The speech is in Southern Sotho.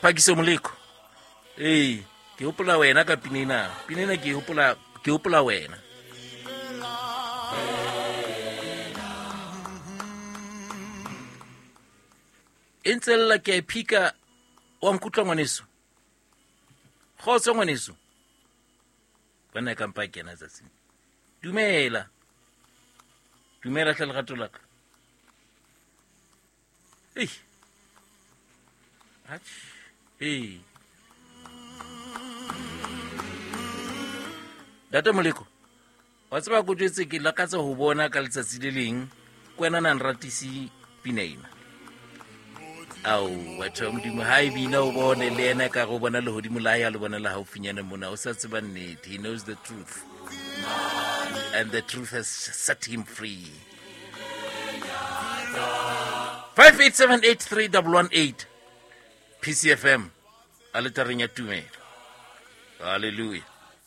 Phakiso Moleko. Ee, ke hopola wena ka pina ena. Pina ena ke hopola, ke hopola wena. E ntse lla ke a e phika, wa nkutlwa ngwaneso? Kgotso ngwaneso. Bona e kampa kena tsatsing. Dumela. Dumela hle lerato la ka. Ei. Atjhe. Ee. Ntate Moleko, wa tseba ko jwetse ke lakatsa ho bona ka letsatsi le leng ke wena na nratise pina ena. Ao, batho ba Modimo, ha e bina o bone le ena ka go bona lehodimo la ya le bona la haufinyane mona, o sa tseba nnete. He knows the truth. And the truth has set him free. 58783118 PCFM aletareng ya tumelo. Hallelujah.